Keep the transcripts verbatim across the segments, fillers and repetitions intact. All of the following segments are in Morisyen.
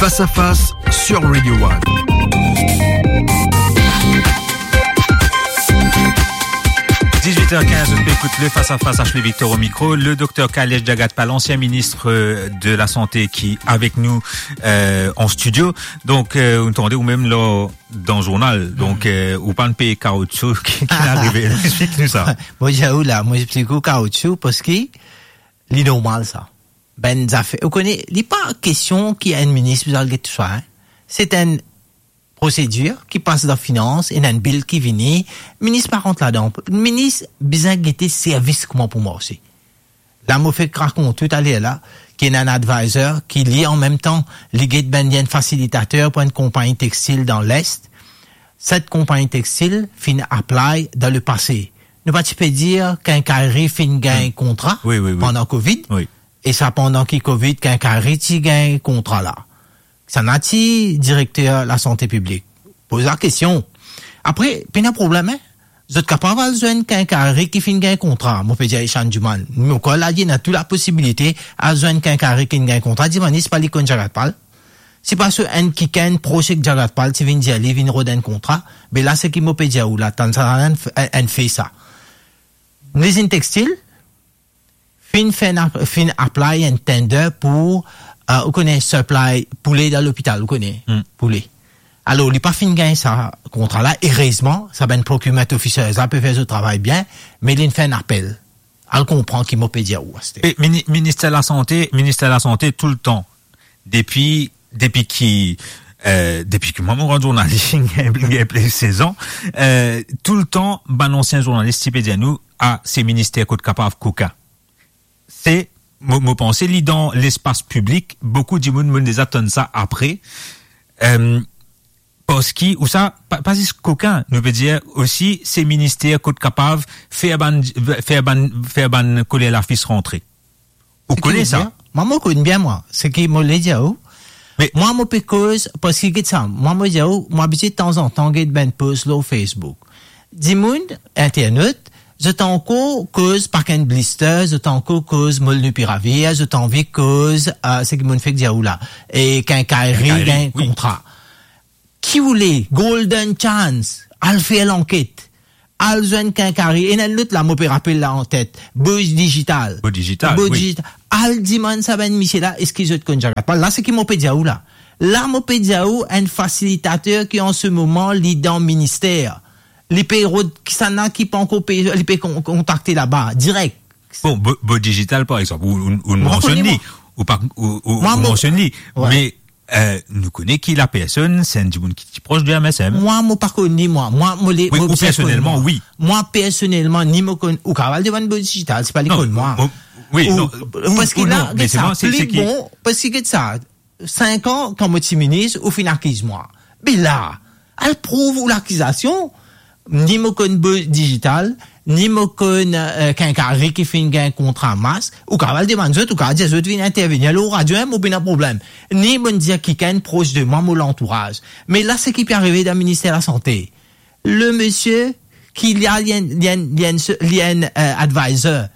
Face à face sur Radio One. Dix-huit heures quinze, on peut écouter le face à face avec Ashley Victor au micro, le docteur Kailesh Jagatpal, ancien ministre, euh, de la Santé, qui est avec nous, euh, en studio. Donc, euh, vous entendez, ou même là, dans le journal, donc, euh, ou pa pe pey kaoutchou ki, ki inn arive. Explique-nous ça. Mo dir ou la, mo explique ou kaoutchou, parski li normal sa. Bann zafer, ou kone, li pa kestion ki enn minis bizin al get tousa, hein. Se enn prosedir ki pas dan finans, ena enn bil ki vini, minis pa rant ladan. Minis bizin gete servis kouma pou marse. La, mo fek rakont tou taler la, ki ena enn advisor ki li, an mem tan, li get bann, li enn fasilitater pou enn konpagni textil dan Lest. Set konpagni textil finn apply dan lepase. Nou pa ti pe dir Quincaillerie finn gagn kontra pandan Covid. Wi. E sa pandan ki Covid, Quincaillerie ti gagn kontra la. Sa ena ti direkter lasante piblik. Poz lakestion. Apre, pena problem, hein. Zot kapav al zwenn Quincaillerie ki finn gagn kontra. Mo pe dir Ishan Juman. Mo krwar la, ena tou laposibilite al zwenn Quincaillerie ki finn gagn kontra. Dimann, si pa li konn Jagatpal. Si pa so enn kikenn pros ek Jagatpal ti vinn dir li vinn rod enn kontra. Be la, seki mo pe dir ou la, tann sa, enn, enn fe sa. Lizinn textil, finn fer enn ap-, finn apply enn tender pou, euh, ou kone, supply poule dan lopital, ou kone, poule. Alor, li pa finn gagn sa kontra la, erezman, sa bann procurement officers la pe fer zot travay bien, me linn fer enn apel. Al konpran ki mo pe dir ou aster. E mini-, minister lasante, minister lasante toultan, depi, depi ki, euh, depi ki mwa mo rant zournalis, gagn, gagn plis sez an, euh, toultan, bann ansien zournalis ti pe dir nou, "Ah, se minister kot kapav kokin." Se, mo, mo panse li dan lespas piblik, boukou dimoun, mo'nn deza tann sa apre. Euh, parski, ou sa, pa, pa zis kokin, nou pe dir osi, se minister kot kapav fer bann, fer bann, fer bann koler lafis rantre. Ou kone sa? Mwa, mo konn bien, mwa. Seki mo le dir ou. Me mwa, mo pe koz, parski get sa, mwa, mo dir ou, mwa abitie tanzantan get bann post lor Facebook. Dimoun, internat, zot ankor koz pakin blister, zot ankor koz molnupiravir, zot anvi koz, euh, seki mo'nn fek dir ou la, e Quincaillerie gagn kontra. Ki oule, golden chance, al fer lanket, al zwenn Quincaillerie, ena enn lot la, mo pe rapel la antet, Bo Digital. Bo Digital, wi. Al dimann sa bann misie la, eski zot konn Jagatpal? La, seki mo pe dir ou la. La, mo pe dir ou, enn fasilitater ki an se moman, li dan minister. Li pe rod, kisannla ki pa ankor pe, li pe kon-, kontakte laba, direk. Bon, Bo, Bo Digital, par exanp, ou, ou, ou mansionn li, ou pa, ou, ou, ou mansionn li, me euh, nou kone ki lapersonn, se enn dimoun ki ti pros de M S M. Mwa, mo pa konn li, mwa. Mwa, mo le, wi, mo ou personelman, wi. Mwa, personelman, ni mo konn, ou kapav al demann Bo Digital, se pa li konn mwa. Wi, non, parski la, get sa, pli bon, parski get sa, sink an, kan mo ti minis, ou finn akiz mwa. Be la, al prouv ou lakizasion, ni mo konn Bo Digital, ni mo konn, euh, Quincaillerie ki finn gagn kontra mask, ou kapav al demann zot, ou kapav dir zot vinn intervenir lor radio, hein, mo pena problem. Ni mo'nn dir kikenn pros de mwa, mo lantouraz. Me la, seki pe arive dan minister lasante. Le misie ki li a, li enn, li enn, li enn, li enn, euh, advisor.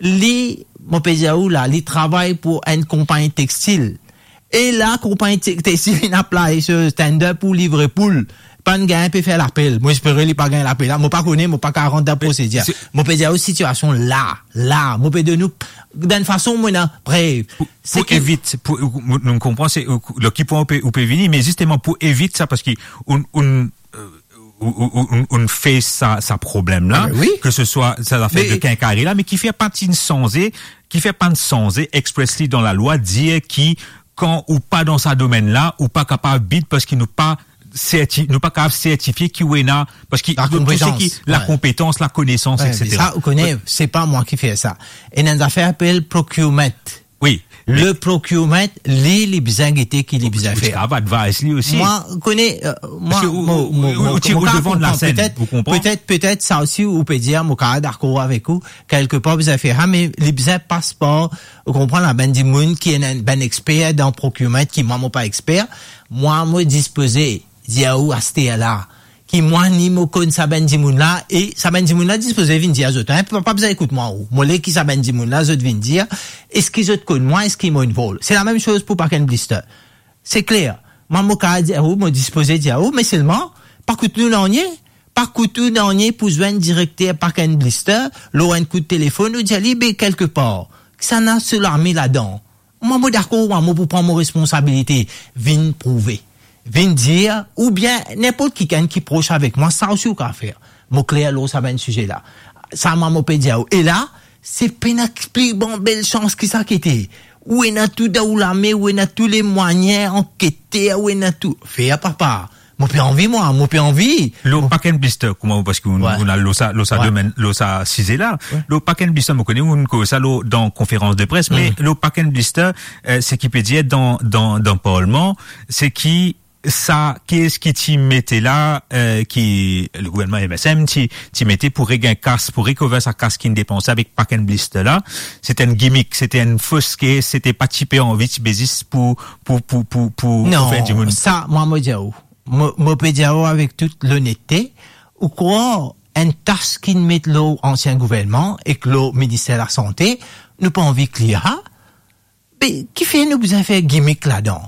Li, mo pe dir ou la, li travay pou enn konpagni textil. E la, konpagni te-, textil inn apply so tender pou livre poul. Pa'nn gagn, pe fer lapel. Mo espere li pa gagn lapel la. Mo pa kone, mo pa kapav rant dan prosedir. Mo pe dir ou sitiasion la, la. Mo pe donn ou, dan fason mo ena prev. Pou, pou evit, pou, nou konpran, se, lor ki pwen ou pe, ou pe vini, me zisteman pou evit sa, parski ou, ou, euh, ou, ou, ou, ou, ou fer sa, sa problem la, ke se swa sa zafer de Quincaillerie la, me ki fer pa ti sanze, ki fer pa sanze expressly dan lalwa, dir ki kan ou pa dan sa domenn la, ou pa kapav bid parski nou pa serti-, nou pa kapav sertifie ki ou ena, parski lakonpetans, lakonesans, etsetera. Sa, ou kone, se pa mwa ki fer sa. Ena enn zafer apel procurement. Wi. Le procurement, li, li bizin gete ki li bizin fer. Ou kapav advise li osi. Mwa, kone, euh, mwa, parski ou, mo, ou, mo, ou, mo, ou ti, mo ou kapav devan lasenn, petet, ou konpran? Petet, petet sa osi, ou pe dir, mo kapav dakor avek ou, kelkepar bizin fer sa, me li bizin pas par, ou konpran, la bann dimoun ki ena bann exper dan procurement, ki mwa, mo pa exper, mwa, mo dispoze dir ou aster la, ki mwa ni mo konn sa bann dimoun la, e sa bann dimoun la dispoze vinn dir zot, hein, pa, pa bizin ekout mwa ou. Mo le ki sa bann dimoun la, zot vinn dir, eski zot konn mwa, eski mo involve. Se lamem soz pou pakin blister. Se kler. Mwa, mo kapav dir ou, mo dispoze dir ou, me selman, pa kout nou nanye, pa kout nou nanye pou zwenn direkter Pack and Blister, lor enn kout telefonn, ou dir li, be, kelkepar, kisannla so lame ladan. Mwa, mo dakor, mwa, mo pou pran mo responsabilite, vinn prouve, vinn dir, oubien ninport kikenn ki pros avek mwa, sa osi ou kapav fer. Mo kler lor sa bann size la. Sa mwa, mo pe dir ou. E la, se pena pli gran bel sans ki sa ki ete. Ou ena tou dan ou lame, ou ena tou lemwayin, ankete, ou ena tou. Fer, papa. Mo pe anvi, mwa, mo pe anvi. Lor Pack and Blister, kouma, paski ou, Ouais. ou ena lor sa, lor sa Ouais. domenn, lor sa size la. Ouais. Lor Pack and Blister, mo kone ou koz sa lor, dan konferans de pres, me Mm. lor Pack and Blister, euh, seki pe dir dan, dan, dan parlman, se ki sa, ki eski ti mete la, euh, ki le gouvernman M S M ti, ti mete pou regagn kas, pou recover sa kas ki'nn depanse avek Pack and Blister la, se ti enn gimmick, se ti enn fos kes, se ti pa ti pe anvi, ti be zis pou, pou, pou, pou, pou, pou Non, fer dimoun. Sa, mwa, mo dir ou, mo, mo pe dir ou avek tou lonetete, ou krwar enn tas ki'nn met lor ansien gouvernman ek lor Minister Lasante, nou pa anvi kler sa? Be, kifer nou bizin fer gimmick ladan?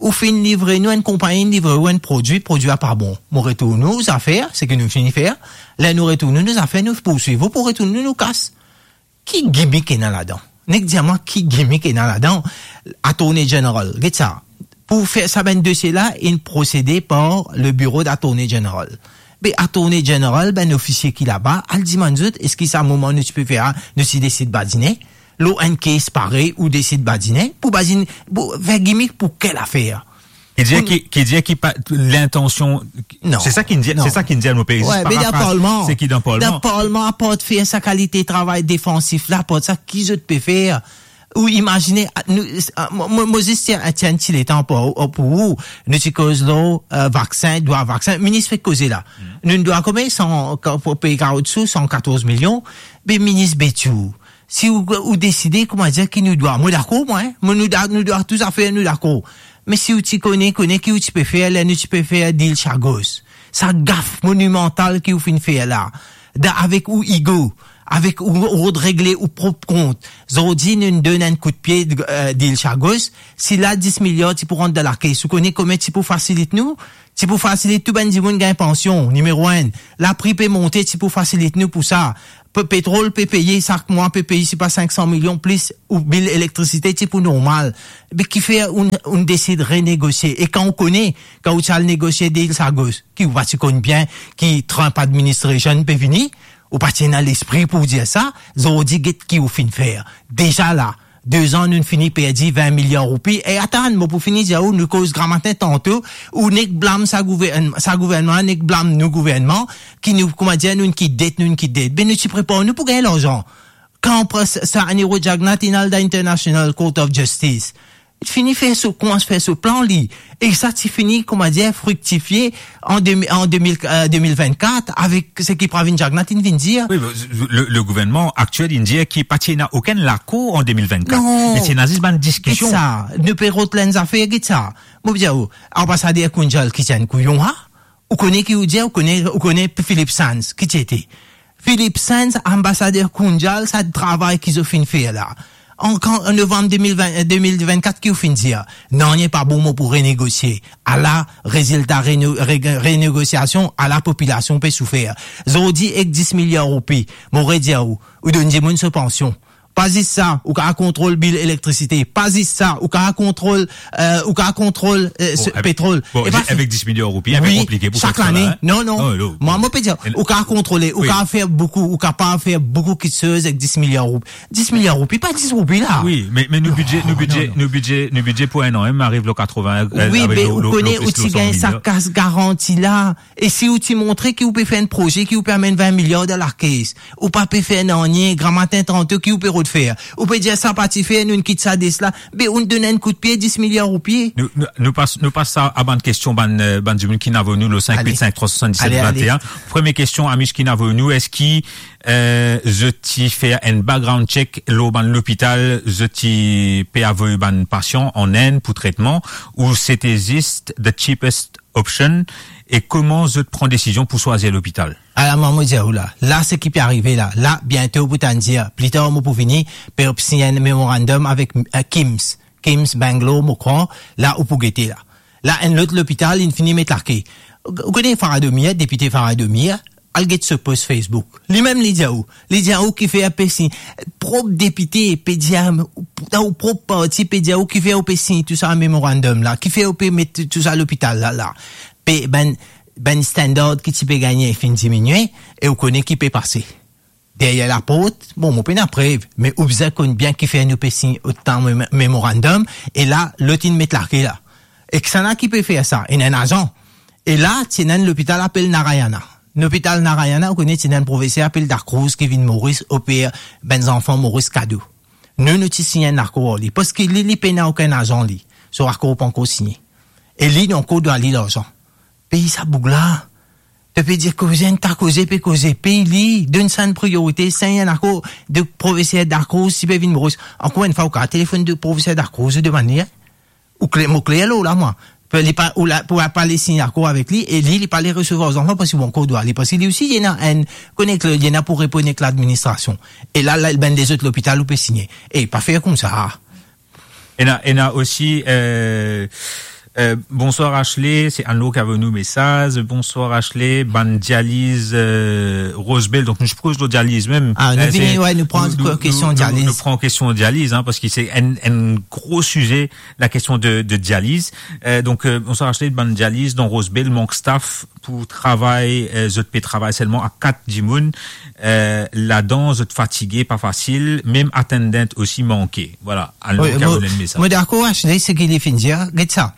Ou finn livre nou, enn konpagni livre ou enn prodwi, prodwi la pa bon. Mo retourn ou zafer, seki nou finn fer. Ler nou retourn ou nou zafer, nou pourswiv ou pou retourn nou nou kas. Ki gimmick ena ladan? Nek dir mwa ki gimmick ena ladan? Attorney General, get sa. Pou fer sa bann dosie la, inn prosede par le bureau d'Attorney General. Be Attorney General, bann ofisie ki laba, al dimann zot, eski sa moman nou ti pe fer, nou ti desid badine? Lor enn kes parey, ou desid badine? Pou badine, pou fer gimmick pou kel afer? Ki dir Pou ki, ki dir ki pa, lintansion, Non, se sa ki dir, non. se sa ki dir, nou pe zis Ouais, me dan parafraz parlman, seki dan parlman. Dan parlman, apar fer sa kalite travay defansif la, apar sa ki zot pe fer? Ou imazine, a, nou, a, mo, mo, mo zis tir, tir enn ti letan pou, pou ou, nou ti koz lor, euh, vaksin, drwa vaksin, minis fek koze la. Mm. Nou, nou drwa konbien? San, ka-, pou pey kaoutchou, san katorz milion, be minis Betiou. Si ou, ou deside, kouma dir, ki nou drwa, mo dakor, mwa, hein? Mo, nou da-, nou drwa tou zafer, nou dakor. Me si ou ti kone, kone ki ou ti pe fer, ler nou ti pe fer dil Chagos. Sa gaf monimantal ki ou finn fer la. Dan, avek ou ego, avek ou, ou rod regle ou prop kont. Zordi, nou donn enn kout pie, euh, dil Chagos. Si la dis miliar ti pou rant dan lakes, ou kone konbien ti pou fasilit nou? Ti pou fasilit tou bann dimoun gagn pansion, nimero enn. Lapri pe monte, ti pou fasilit nou pou sa. Pe-, petrol pe peye, sak mwa pe peye, se pa sink san milion plis, ou bil elektrisite ti pou normal. Be kifer ou, ou desid renegosie? E kan ou kone, kan ou ti al negosie dil Chagos, ki ou pa ti konn bien, ki Trump administration pe vini, ou pa ti ena lespri pou dir sa, zordi get ki ou finn fer. Deza la, de zan nou fini perdi vin miliar roupi. E atann, mo pou fini dir ou, nou koz gramatin tanto, ou nek blam sa gouvern-, sa gouvernman, nek blam nou gouvernman, ki nou, kouma dir, nou ki det, nou ki det. Be nou ti prepar nou pou gagn larzan. Kan pres-, sa Anirudh Jagannath inn al dan International Court of Justice, fini fer so, koumans fer so plan li. E sa ti fini, kouma dir, friktifie an de, an de mil, euh, de mil vennkat, avek seki Pravin Jagannath inn vinn dir. Wi, le, le gouvernman aktiel inn dir ki pa ti ena okenn lakor an de mil vennkat. Non. Me ti ena zis bann diskision. Get sa, nou pe rod enn zafer, get sa. Mo dir ou, anbasader Kunjal ki ti enn kouyon, ha? Ou kone ki ou dir, ou kone, ou kone Philip Sands, ki ti ete? Philip Sands, anbasader Kunjal, sa travay ki zot finn fer la. An, kan, an novanm de mil ven, de mil vennkat, ki ou finn dir? Nanye pa bon, mo pou renegosie. Ala rezilta reno-, re-, renegosiasion, ala popilasion pe soufer. Zordi ek dis miliar roupi, mo redir ou, ou donn dimoun so pansion. Pa zis sa, ou kapav kontrol bil elektrisite. Pa zis sa, ou kapav kontrol, euh, ou kapav kontrol, euh, Bon, se avek, petrol. bon, E pa avek dis miliar roupi, wi, konplike pou sak fer sa lane. La, hein? Non, non. Non, non. Mwa, mo pe dir, ou kapav kontrole, ou kapav fer boukou, ou kapav fer boukou kiksoz avek dis miliar roupi. Dis miliar roupi, pa dis roupi la. Wi, me, me nou bidze, nou bidze, nou bidze, nou bidze pou enn an, hein, ariv lor katreven, euh, Wi, avek me ou kone, ou ti gagn sa kas garanti la. E si ou ti montre ki ou pe fer enn proze ki ou pe amenn vin miliar dan lakes, ou pa pe fer nanye, gramatin tanto ki ou pe rod fer? Ou pe dir sa pa ti fer, nou kit sa de sela, be ou donn enn kout pie, dis miliar roupi. Nou, nou, nou pas, nou pas a, a bann kestion bann, euh, bann dimoun ki inn avoy nou, le sink wit sink trwa swasann-diset venntein. Premie kestion, ami ki inn avoy nou, eski, euh, zot ti fer enn background check lor bann lopital zot ti pe avoy bann pasian an Inn pou tretman, ou sete zis the cheapest option, e kouma zot pran desizion pou swazir lopital? Ala, mwa, mo dir ou la, la seki pe arive la, la, biento pou tann dir, pli tar mo pou vini, pe sign enn memorandum avek, euh, KIMS. KIMS, Bangalore, mo krwar, la ou pou gete la. La, enn lot lopital, inn fini met lake. Ou kone Farah Domia, depite Farah Domia, al get so post Facebook. Limem li dir ou, li dir ou kifer pe sign, prop depite pe dir, dan ou prop parti pe dir ou kifer ou pe sign tou sa memorandum la, kifer ou pe met tou sa lopital la, la. Pe bann, bann standard ki ti pe gagne finn diminie, e ou kone ki pe pase. Deryer laport, bon, mo pena prev, me ou bizin konn bien kifer nou pe sign otan mem-, memorandum, e la, lot inn met lake la. E kisannla ki pe fer sa? Ena enn azan. E la, ti ena enn lopital apel Narayana. Lopital Narayana, ou kone ti ena enn profeser apel Da Cruz ki vinn Moris, oper bann zanfan Moris kado. Nou, nou ti sign enn akor ar li, parski li, li pena okenn azan li. So akor pa ankor signe. E li, li ankor dwa li larzan. Pey sa boug la. To pe dir koze, enn ta koze pe koze, pey li, donn sa enn priorite, sign enn akor. De profeser Da Cruz ti pe vinn Moris. Ankor enn fwa, ou kav telefonn de profeser Da Cruz, ou demann li, hein? Ou kler, mo kler lor la, mwa. Pe-, li pa, ou la, pou pa le sign akor avek li, e li, li pa le resevwar zanfan, parski bon, ankor dwa li, parski li osi, li ena enn, konek, li ena pou reponn ek ladministrasion. E la, la, bann lezot lopital, ou pe signe. E pa fer koumsa. Ena, ena osi, euh, euh, bonsoir Ashley, se Anlo ki avoy nou mesaz. Bonsoir Ashley, bann dializ, euh, Rosebell, donk nou ti pou koz lor dializ mem. Ah, nou vini, se, ouais, nou pran nou, nou, kestion nou, dializ. Nou pran kestion dializ, hein, parski se enn, enn gro size, la kestion de, de dializ. Euh, donk, euh, bonsoir Ashley, bann dializ dan Rosebell mank staff pou travay, euh, zot pe travay selman a kat dimoun, euh, ladan zot fatige, pa fasil, mem attendant osi manke. Voilà, Anlo ki avoy nou mesaz. Wi, mo, mo dakor, Ashley, seki li finn dir, get sa.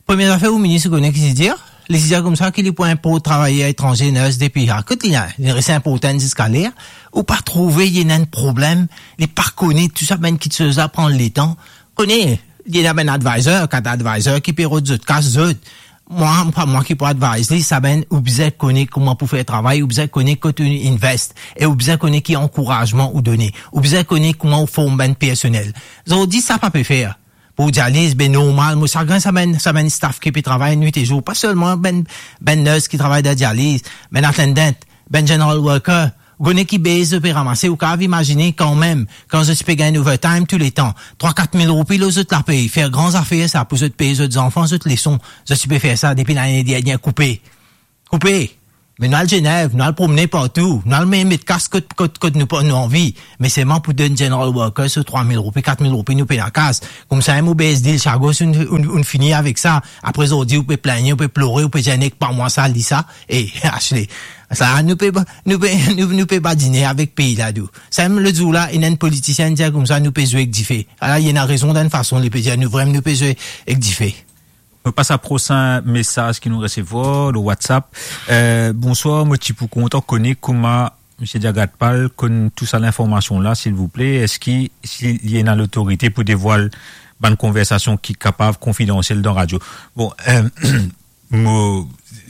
Premie zafer, ou minis, ou kone ki ti dir? Li ti dir koumsa ki li pou inport travayer etranze, nurse depi, ah, kot li la, li res inportan ziska ler, ou pa trouve li ena enn problem, li pa kone tou sa, bann kiksoz la pran letan. Kone, li ena bann advisor, kat advisor ki pe rod zot kas zot. Mwa, pa mwa ki pou advise li, sa bann, ou bizin kone kouma pou fer travay, ou bizin kone kot ou invest, e ou bizin kone ki ankourazman ou done, ou bizin kone kouma ou form bann personel. Zordi, sa pa pe fer. Pou dializ, be normal, mo sagrin sa bann, sa bann staff ki pe travay nwit e zour, pa selman bann, bann nurse ki travay dan dializ, bann attendant, bann general worker, ou kone ki base zot pe ramase, ou kav imazine kanmem, kan zot ti pe gagn overtime touletan, trwa, kat mil roupi lor zot lapey, fer gran zafer sa pou zot pey zot zanfan, zot leson, zot ti pe fer sa depi lane dernie, koupe. Koupe. Me nou al Zenev, nou al promne partou, nou al me-, met kas kot, kot, kot nou pa, nou anvi. Me selman pou donn general worker so trwa mil roupi, kat mil roupi, nou pena kas. Koumsa, enn mo base deal, sa gos, ou'nn, ou'nn, ou'nn fini avek sa. Apre zordi, ou pe pligne, ou pe plore, ou pe dir nek pa mwa sa, li sa. E, Ashley, sa, nou pe, nou pe, nou, nou pe badine avek pei la, dou. Sa mem lot zour la, ena enn politisien dir koumsa, nou pe zwe ek dife. Ala, li ena rezon dan enn fason, li pe dir nou vremem, nou pe zwe ek dife. Nou pas a prosin mesaz ki nou resevwar lor WhatsApp. Euh, bonsoir, mo ti pou kontan kone kouma Misie Diagatpal konn tou sa linformasion la, silvouple. Eski, si li ena lotorite pou devwal bann konversasion ki kapav konfidansiel dan radio? Bon, euh, mo,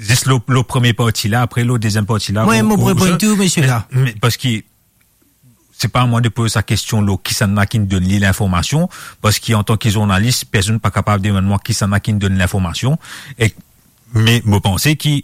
zis lor, lor premie parti la, apre lor deziem parti la, wi, ou, mo pou ou, reponn ou, tou, misie la. Me, me, parski se pa a mwa de poz sa kestion lor kisannla ki'nn donn li linformasion, parski antanki zournalis, personn pa kapav demann mwa kisannla ki'nn donn linformasion. E, me mo panse ki,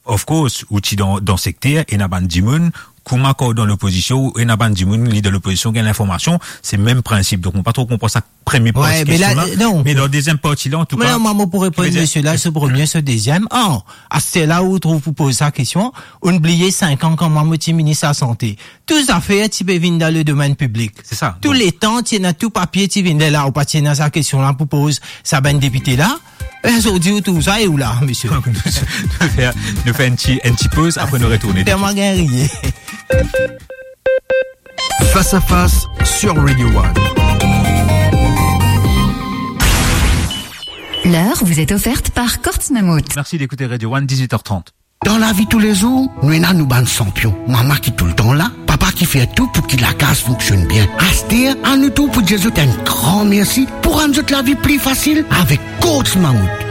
of course, ou ti dan, dan sekter, ena bann dimoun, kouma kan ou dan lopozision, ou ena bann dimoun, li dan lopozision, gagn linformasion, se mem prinsip. Donk, mo pa tro konpran sa premie parti kestion la, non. Me dan deziem parti la, antouka, mwa, mo pou reponn misie la, so premie, so deziem. An, aster la ou trouv pou poz sa kestion, ou'nn bliye sink an kan mwa mo ti minis lasante. Tou zafer ti pe vinn dan ledomenn piblik. Se sa. Tou letan ti ena tou papie ti vinn de la, ou pa ti ena sa kestion la pou poz sa bann depite la. E zordi ou trouv sa e ou la, misie. Nou fer, nou fer enn ti, enn ti poz, apre nou retourne. Telman gagn riye. Face à face sur Radio One. L'heure vous est offerte par Courts Mammouth. Merci d'écouter Radio One, dix-huit heures trente. Dan lavi toulezour, nou ena nou bann sanpion. Mama ki toultan la, papa ki fer tou pou ki lakaz fonksionn bien. Aster, anou tou pou dir zot enn gran mersi pou rann zot lavi pli fasil avek Courts Mammouth.